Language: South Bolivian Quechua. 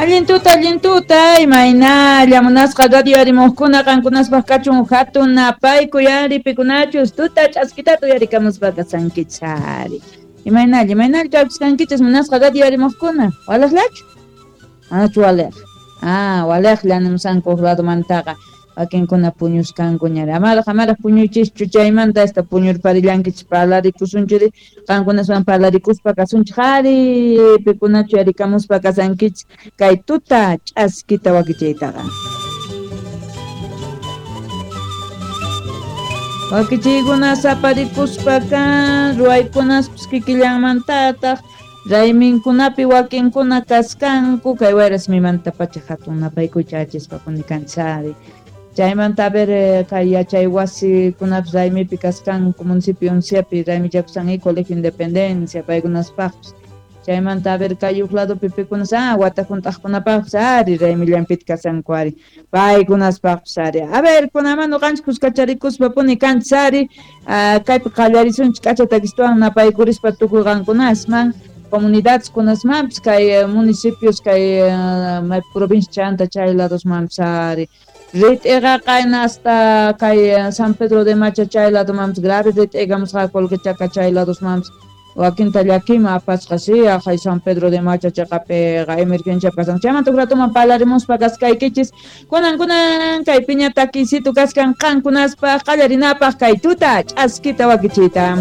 Allin tuta, imaynalla munasqa radio arimuqkuna qankunaspaq kachun hatun napaykuy ari pikunachus tuta ch'askitata uyarikamuspa kasankichis ari. Imaynalla, imaynalla kawsasqankichis munasqa radio arimuqkuna, walejllachu? Manachu waleq? Ah, walejlla nimusanku huk ladomantaqa. Wakinkuna puñuskankuñari. Amaraq, amaraq puñuychischu chaymanta hasta puñurparillankichis parlarikusunchiri qankunaswan parlarikuspa kasunchik ari pikunachu yarikamuspa kasankichis kay tuta ch'askita wakichiytaqa. Wakichiykuna saparikuspa kan ruwaykunaspis kikillanmantataq rayminkunapi wakinkuna kaskanku kay wayras-mimantapacha hatun napaykuy chayachispa kanchis ari. Chaymanta a ver kay yachay wasikunapis raymipi kaskanku municipio Unciapi raymichakushan y Colegio Independencia paykunaspaqpis. Chaymanta a ver kay huk ladopi pikunas wata hunt'aqkunapaqpis ari raymillanpita kasanku ari paykunaspaqpis ari. A ver kunaman ñuqanchik kuskacharikuspa puni kanchis ari kaypi qallarisunchik k'acha takistuwan napaykurispa tukuy qankunasman comunidades kunasmanpis kay municipios kay provincia chanta chay ladosmanpis ari. Rit'iqa qayna hasta kay San Pedro de Macha chay ladomanpis grave rit'igamusqa Colquechaca chay ladosmanpis wakinta llakima apasqa si aqhay San Pedro de Macha chaqapiqa emergencia pasan. Chaymanta huk ratoman parlarimuspa kaskaykichis kunan kunan kay piña takisito kaskan qankunaspaq qallarinapaq kay tuta ch'askita wakichiyta.